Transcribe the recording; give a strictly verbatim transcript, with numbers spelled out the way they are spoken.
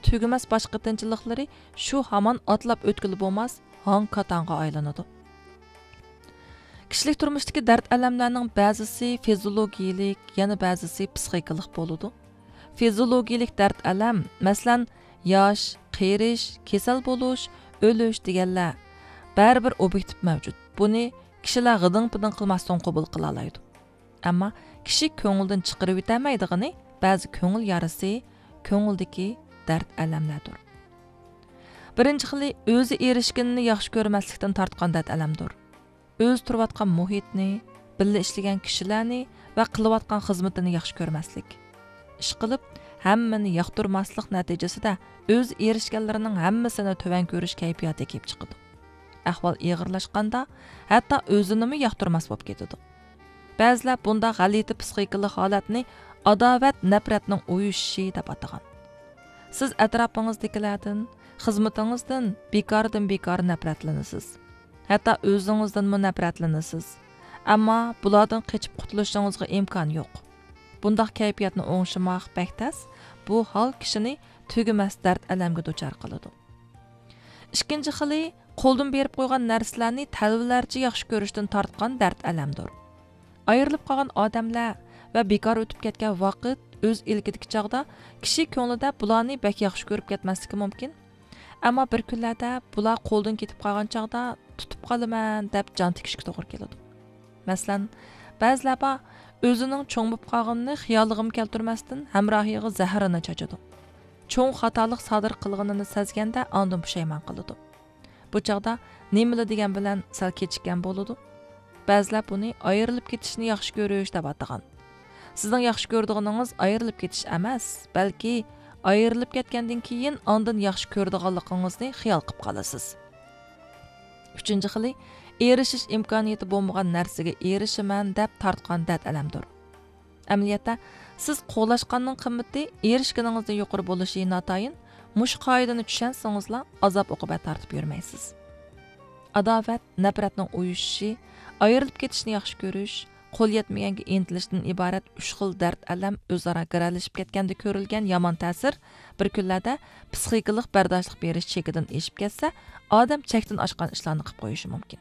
تۈگىمەس باش قېتىنچىلىقلىرى شۇ ھامان ئاتلاپ ئۆتكىلى بولماس ھاڭ-كاتاڭغا ئايلىنىدۇ. كىشىلىك تۇرمۇشتىكى دەرد-ئەلەملەرنىڭ بەزىسى فىزىولوگىيىلىك، يەنە بەزىسى پسىخىكىلىق بولىدۇ. فىزىولوگىيىلىك دەرد-ئەلەم، مەسىلەن، ياش، قېرىش، كېسەل بولۇش، ئۆلۈش دېگەنلەر بەرىبىر ئوبيېكتىپ مەۋجۇت. بۇنى كىشىلەر غىدىڭ-پىدىڭ قىلماستىن قوبۇل قىلالايدۇ. ئەمما كىشى كۆڭلىدىن چىقىرىۋېتەلمەيدىغىنى بەزى كۆڭۈل يارىسى، كۆڭۈلدىكى دەرد-ئەلەملەردۇر. بىرىنچى خىلى ئۆزى ئېرىشكىنىنى ياخشى كۆرمەسلىكتىن تارتقان دەرد-ئەلەمدۇر. ئۆزى تۇرۇۋاتقان مۇھىتنى، بىللە ئىشلىگەن كىشىلەرنى ۋە قىلىۋاتقان خىزمىتىنى ياخشى كۆرمەسلىك. ئىشقىلىپ، ھەممىنى ياقتۇرماسلىق نەتىجىسىدە ئۆزى ئېرىشكەنلىرىنىڭ ھەممىسىنى تۆۋەن كۆرۈش كەيپىياتى كېلىپ چىقىدۇ. ئەھۋال ئېغىرلاشقاندا، ھەتتا ئۆزىنىمۇ ياقتۇرماس بولۇپ كېتىدۇ. بەزىلەر بۇنداق غەلىتە پسىخىكىلىق ھالەتنى ئاداۋەت، نەپرەتنىڭ ئۇيۇشۇشى دەپ ئاتىغان. سىز ئەتراپىڭىزدىكىلەردىن، خىزمىتىڭىزدىن بىكاردىن بىكار نەپرەتلىنىسىز. ھەتتا ئۆزىڭىزدىنمۇ نەپرەتلىنىسىز. ئەمما بۇلاردىن قېچىپ قۇتۇلۇشىڭىزغا ئىمكان يوق. بۇنداق كەيپىياتنى ئوڭشىماق بەك تەس، بۇ ھال كىشىنى تۈگىمەس دەرد-ئەلەمگە دۇچار قىلىدۇ. ئىككىنچى خىلى، قولدىن بېرىپ قويغان نەرسىلەرنى تەلۋىلەرچە ياخشى كۆرۈشتىن تارتقان دەرد-ئەلەمدۇر. ئايرىلىپ قالغان ئادەملەر ۋە بىكار ئۆتۈپ كەتكەن ۋاقىت ئۆز ئىلكىدىكى چاغدا كىشى كۆڭلىدە بۇلارنى بەك ياخشى كۆرۈپ كەتمەسلىكى مۇمكىن. ئەمما بىر كۈنلەردە بۇلار قولدىن كېتىپ قالغان چاغدا تۇتۇپ قالىمەن دەپ جان تىكىشكە توغرا كېلىدۇ. مەسىلەن، بەزىلەر بار، ئۆزىنىڭ چوڭ بولۇپ قالغىنىنى خىيالىغىمۇ كەلتۈرمەستىن ھەمراھىغا زەھىرىنى چاچىدۇ. چوڭ خاتالىق سادىر قىلغىنىنى سەزگەندە ئاندىن پۇشايمان قىلىدۇ. بۇ چاغدا نېمىلا دېگەن بىلەن سەل كېچىككەن بولىدۇ. بەزىلەر بۇنى ئايرىلىپ كېتىشنى ياخشى كۆرۈش دەپ ئاتىغان. سىزنىڭ ياخشى كۆرىدىغىنىڭىز ئايرىلىپ كېتىش ئەمەس، بەلكى ئايرىلىپ كەتكەندىن كېيىن ئاندىن ياخشى كۆرىدىغانلىقىڭىزنى خىيال قىلىپ قالىسىز. ئۈچىنچى خىلى، ئېرىشىش ئىمكانىيىتى بولمىغان نەرسىگە ئېرىشىمەن دەپ تارتقان دەرد-ئەلەمدۇر. ئەمەلىيەتتە، سىز قوغلاشقاننىڭ قىممىتى ئېرىشكىنىڭىزدىن يۇقىرى بولۇشى ناتايىن، مۇشۇ قائىدىنى چۈشەنسىڭىزلا، ئازاب-ئوقۇبەت تارتىپ يۈرمەيسىز. ئاداۋەت، نەپرەتنىڭ ئۇيۇشۇشى، ئايرىلىپ كېتىشنى ياخشى كۆرۈش، قول يەتمىگەنگە ئىنتىلىشتىن ئىبارەت ئۈچ خىل دەرد-ئەلەم ئۆزئارا گىرەلىشىپ كەتكەندە كۆرۈلگەن يامان تەسىر بىر كۈنلەردە پسىخىكىلىق بەرداشلىق بېرىش چېكىدىن ئېشىپ كەتسە، ئادەم چەكتىن ئاشقان ئىشلارنى قىلىپ قويۇشى مۇمكىن.